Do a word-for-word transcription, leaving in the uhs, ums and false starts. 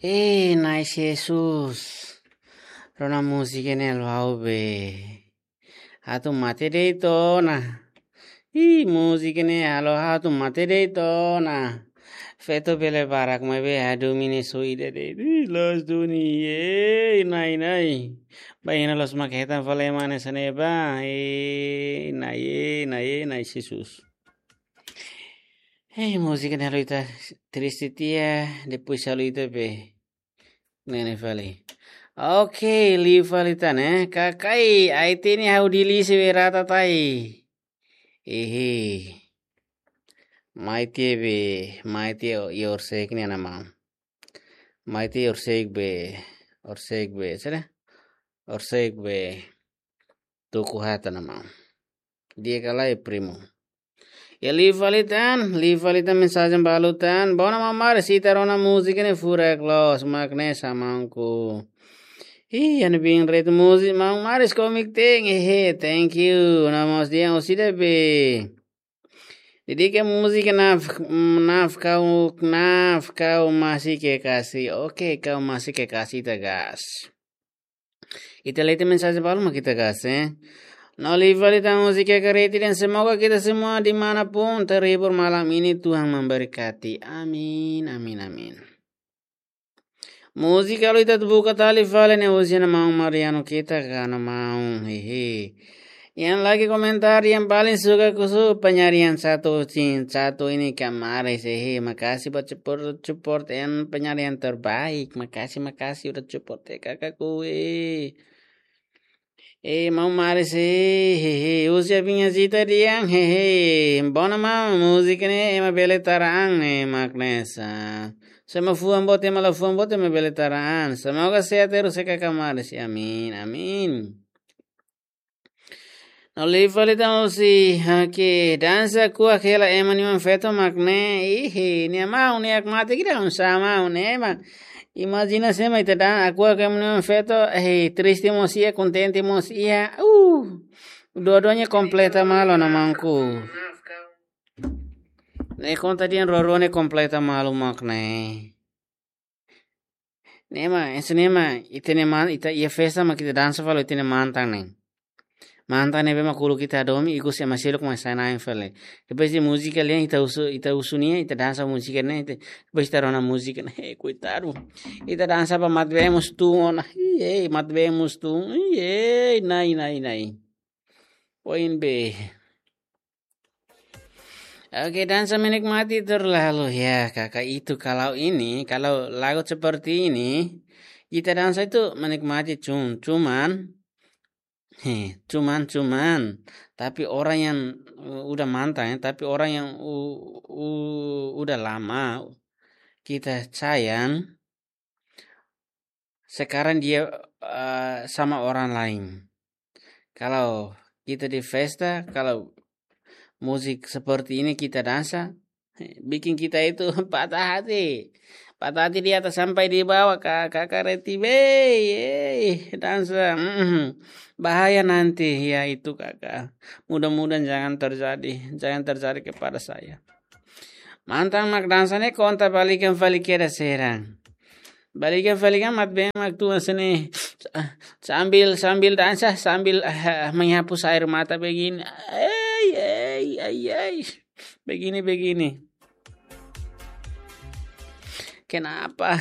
Ei, Na'i Jesus. Rona múzika ne'e halo ha'u be. Atu mate de'it ona. Ih, múzika ne'e halo ha'u atu mate de'it ona. Feto bele barak maibé ha'u duni ne'e só ida de'it. Ih, loos duni. Ei, Na'i, Na'i. Bainhira loos mak hetan fali ema hanesan ne'e ba. Ei, Na'i, ei, Na'i, ei, Na'i Jesus. Ei, múzika ne'e halo ita triste tiha, depois halo ita be. Ne'e ne'e fali. Oke, liu fali tan, eh. Kakai, ai tini ha'u dilisi be rata tai. Ehe. Mai tiha be, mai tiha o, i orsek ni ana maun. Mai tiha orsek be, orsek be, sera? Orsek be, tuku hata ana maun. Di'ak ka lae, primo? Ya, liu fali tan, liu fali tan mensajen balu tan. Bona mamar sita rona múzika ne'e furak loos, mak ne'e sa maunku. Ih, ana bin ret múzika, maun Maris komik teng, ehe, thank you. Namos dia usida be. Dedika múzika naf, naf kau, naf kau masih kekasih. Oke, kau masih kekasih, ita gas. Ita lee tiha mensajen balu mak ita gas, eh. No liu fali tan múzika kareti dan semoga kita semua di mana pun terhibur malam ini, Tuhan memberkati. Amin, amin, amin. Múzika halo ita atu buka tali fali ne'e husi ana maun Mariano Queta ka ana maun, hehe. Yang lagi komentar yang paling suka kusu penyanyi yang satu cin, satu ini Kak Maris, hehe. Makasih buat support, support yang penyanyi yang terbaik. Makasih, makasih udah support ya kakakku, eh. Eh, maun Maris, eh, hehe, husi apinha sita diang, hehe. Bona maun, múzika ne'e ema bele tara an ne'e mak ne'e sa. Se ema fuan boot, ema la fuan boot, ema bele tara an. Semoga sehat terus ya kakak Maris. Amin, amin. No liu fali tan husi, oke, dansa kuak hela ema nia oan feto mak ne'e, ih, nia maun, nia ak mate kira un sa maun, ema. Imajina se ema ita dan, aku ak ema nia oan feto, eh, triste mós iha, kontente mós iha, uh, dua-duanya kompleta malu ana maunku. Ne'e konta dehan dua-duanya kompleta malu mak ne'e. Ne'e mak, ese ne'e mak, ita-nia man, ita iha festa mak ita dansa fali ita-nia mantan ne'e. Mantan ne'ebé mak uluk ita hadomi, ikus ema seluk mak sai na'in fali. Depois de múzika lian ita husu, ita husu nia, ita dansa múzika ne'e, ita, depois ita rona múzika ne'e, eh, koitadu. Ita dansa ba mat bee mós tun ona, iye, mat bee mós tun, iye, Na'i, Na'i, Na'i. Poin be. Oke, dansa menikmati terlalu ya, kakak itu. Kalau ini, kalau lagu seperti ini, kita dansa itu menikmati cum-, cuman, heh, cuman, cuman. Tapi orang yang, uh, udah mantan ya, tapi orang yang u-, u-, udah lama kita sayang, sekarang dia, eh, sama orang lain. Kalau kita di festa, kalau musik seperti ini kita dansa, bikin kita itu patah hati. Patah hati di atas sampai di bawah, Kak, Kakak Reti, wey, eh, dansa, mm, bahaya nanti, ya itu, Kakak. Mudah-mudahan jangan terjadi, jangan terjadi kepada saya. Mantan mak dansa ne'e konta balikan fali kedas heran. Balikan fali kan mat bee mak tun hanesan ne'e. Sambil, sambil dansa, sambil, eh, menghapus air mata begini. Ei, ei, ei, ei. Begini, begini. Kenapa?